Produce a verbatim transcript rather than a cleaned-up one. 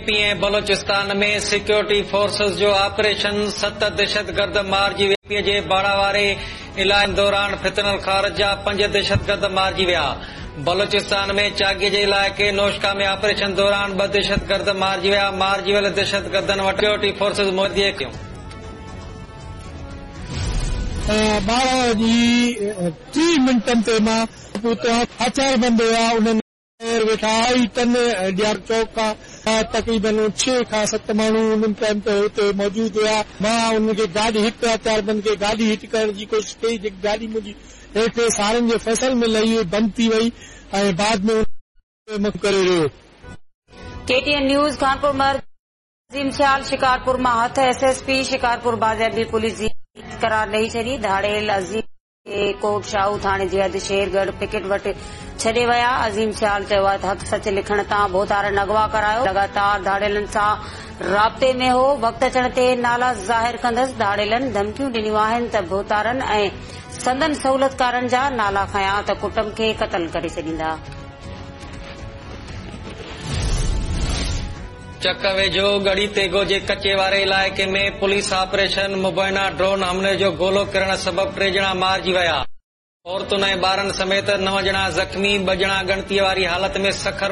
P ۽ Balochistan ۾ security forces جو operation, ست دهشتگرد مارجي ويا. پي جي باڙا واري علائقي دوران فتنه الخوارج جا پنج دهشتگرد مارجي ويا. بلوچستان ۾ چاغي جي علائقي نوشڪا ۾ آپريشن دوران ٻه دهشتگرد مارجي ويا. مارجي ويل دهشتگردن وٽ سيڪيورٽي فورسز مدي ڪيون. ٻارهن وڄي ٽيهه منٽن تي مان پهتو. هٿياربند هئا، انهن ويٺا آئي ٽن ڏيار چوڪ کان تقريبن ڇهه کان ست ماڻهو انهن ٽائيم تي هتي موجود هئا. مان انهن کي گاڏي هڪ هٿياربند کي گاڏي هٽ ڪرڻ جي ڪوشش ڪئي، جيڪي گاڏي منهنجي هيٺ سارن جي فصل ۾ لهي بند ٿي وئي ۽ بعد ۾ ڪري رهيو. K T N news Khanpur Mahar Azeem Sial Shikarpur مان هٿ. ايس ايس پي شڪارپور بازيابي پوليس جي قرار ڏئي ڇڏي. ڌاڙيل عظيم کي ڪوٽ شاهو ٿاڻي جي حد شيرڳڙهه پڪيٽ وٽ ڇڏي ويا. عظيم سيال چيو آهي ته حق سچ لکڻ تان ڀوتارن اغوا ڪرايو، لڳاتار ڌاڙيلن سان رابطي ۾ هو، وقت اچڻ تي نالا ظاهر ڪندس. ڌاڙيلن ڌمڪيون ڏنيون آهن ته ڀوتارن ۽ سندن سهولتڪارن جا نالا کنيا ته ڪٽنب کي قتل ڪري ڇڏيندا. چڪ ويجهو ڳڙهي تيغو جي ڪچي واري علائقي ۾ پوليس آپريشن، مبينا ڊرون حملي جو گولو ڪرڻ سبب ٽي ڄڻا مارجي ويا. عورتن ۽ ٻارن سميت نو ڄڻا زخمي، ٻه ڄڻا ڳڻتيءَ واري حالت ۾ سکر